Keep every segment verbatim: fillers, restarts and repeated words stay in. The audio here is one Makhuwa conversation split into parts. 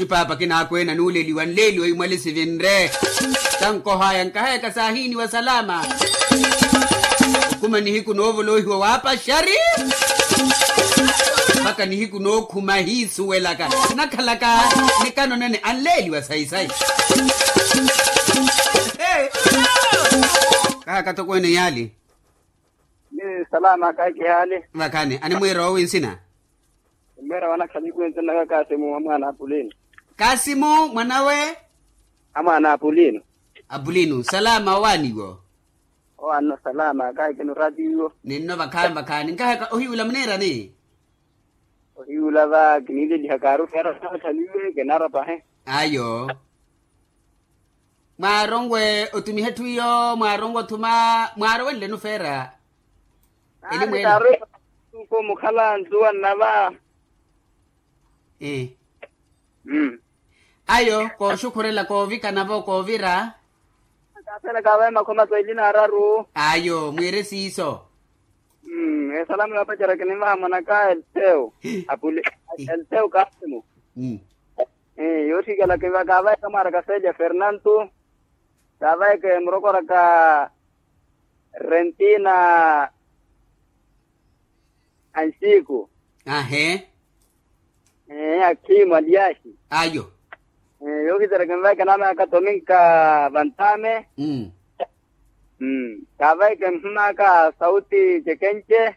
Paapa kinaakweena nuuleliwa nleeliwa imwali sivinre. Tankohaya nkahayaka saahiiniwa salama. Okuma nihiku noovoloohiwa waapaxari. Mpakha nihiku nookhuma hiisuwelaka. Nakhalaka nikano nene anleeliwa sayi-sayi. Kahaka tokweene yaali. Ni salama kahikihaali. Vakhani animwiira owi nsina? Mmeera wanakhala ikwentse nnaka kasimu wa mwaana apulino. Kasimu mwanawe? A mwaana apulino. Apulino salama owaaniwo? Owaanno salama kaikino ratiwo. Ninno vakhaani vakhaani nkaheka ohiwula muniirani? Ohiwula va kiniileliha kaaru feera nakhaliwe kinaara pahe. Ayo. Mwaaronwe otumihe etthu iyo mwaaronwe othuma. Mwaarowenlenu feera. Elimweela. Mukhala nzuwa nnava. Ayo kooxukhurela koovikana-vo koovira. Kaasela kaavaye makhoma soili n'araru. Ayo mwiire siiso. Esalamu yoopacerya kinimvaha mwanaka elteu. Apule. Elteu kaasimu. Yoothikela kiva kaavayeke mwaaraka selya fernanto. Kaavayeke murokoraka rentina. Anxiku. Ahe. Akhimu aliaxi. Ayo. Yookhitera kinvayeke naamaka tominka vantame. Kaavayeke mhumaka sauti cekenche.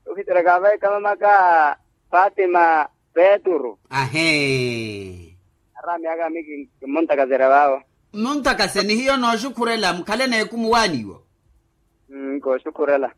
Yookhitera kaavayeke mamaka fatima. Peturu. Ahe. Araami aka ami kimmuntakasera vaawo. Mmuntakase ni hiyo nooxukhurela mukhale n'ekumu waaniwo. Nkooxukhurela.